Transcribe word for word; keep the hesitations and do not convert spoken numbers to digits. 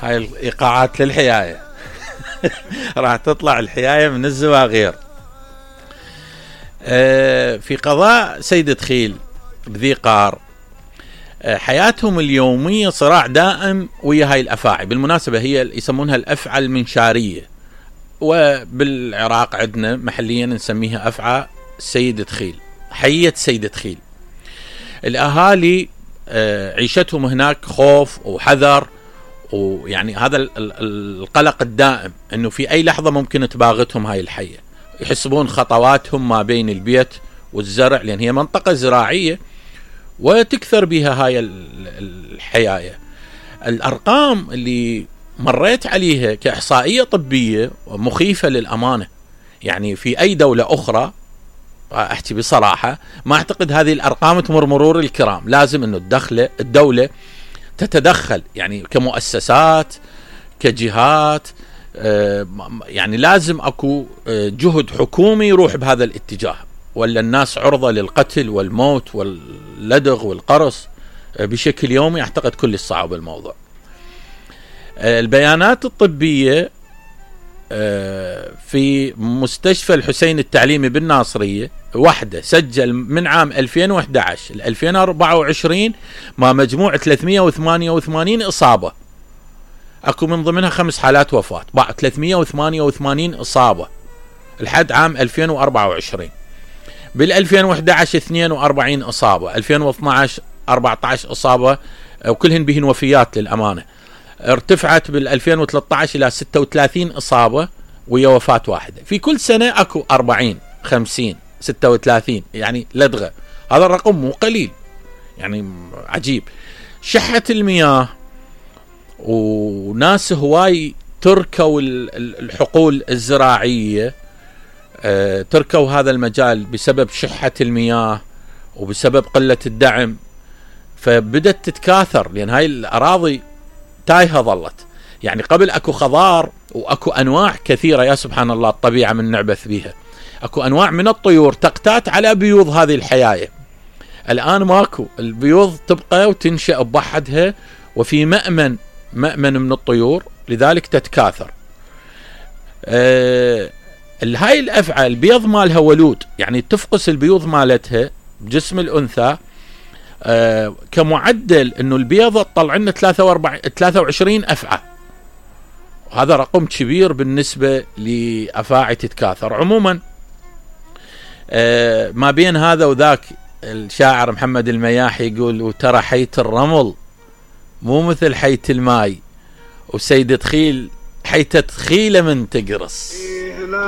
هاي الايقاعات للحياية. راح تطلع الحياية من الزواغير. آه في قضاء سيد خيل بذي قار، آه حياتهم اليومية صراع دائم ويا هاي الأفاعي. بالمناسبة هي يسمونها الأفعى المنشارية، وبالعراق عندنا محليا نسميها أفعى سيد خيل، حية سيد خيل. الأهالي آه عيشتهم هناك خوف وحذر، ويعني هذا القلق الدائم انه في اي لحظة ممكن تباغتهم هاي الحية. يحسبون خطواتهم ما بين البيت والزرع، لان هي منطقة زراعية وتكثر بها هاي الحياية. الارقام اللي مريت عليها كاحصائية طبية مخيفة للامانة. يعني في اي دولة اخرى احكي بصراحة ما اعتقد هذه الارقام تمر مرور الكرام. لازم انه الدخل الدولة تتدخل، يعني كمؤسسات كجهات، يعني لازم اكو جهد حكومي يروح بهذا الاتجاه، ولا الناس عرضة للقتل والموت واللدغ والقرص بشكل يومي. اعتقد كل الصعب الموضوع. البيانات الطبية في مستشفى الحسين التعليمي بالناصرية وحده سجل من عام ألفين وإحدى عشر ل ألفين وأربعة وعشرين ما مجموع ثلاثمئة وثمانية وثمانين إصابة. أكو من ضمنها خمس حالات وفاة. بعد ثلاثمئة وثمانية وثمانين إصابة لحد عام ألفين وأربعة وعشرين. بال ألفين وإحدى عشر اثنين وأربعين إصابة، ألفين واثني عشر أربعة عشر إصابة، وكلهن بهن وفيات للأمانة. ارتفعت بال ألفين وثلاثة عشر إلى ستة وثلاثين إصابة ويا وفاة واحدة. في كل سنة أكو أربعين خمسين ستة وثلاثين، يعني لدغة. هذا الرقم مو قليل، يعني عجيب. شحة المياه، وناس هواي تركوا الحقول الزراعية، تركوا هذا المجال بسبب شحة المياه وبسبب قلة الدعم، فبدت تتكاثر لأن هاي الأراضي تايهة ظلت. يعني قبل أكو خضار وأكو أنواع كثيرة، يا سبحان الله الطبيعة من نعبث بها. أكو أنواع من الطيور تقتات على بيوض هذه الحياية. الآن ماكو، البيوض تبقى وتنشأ بوحدها، وفي مأمن مأمن من الطيور، لذلك تتكاثر. أه هاي الأفعى البيض مالها ولود، يعني تفقس البيوض مالتها بجسم الأنثى. أه كمعدل انه البيضة تطلع لنا ثلاثة وعشرين أفعى. هذا رقم كبير بالنسبة لأفاعي تتكاثر. عموما أه ما بين هذا وذاك الشاعر محمد المياحي يقول: وترى حية الرمل مو مثل حية الماي، وسيدة خيل حية تخيلة من تقرص.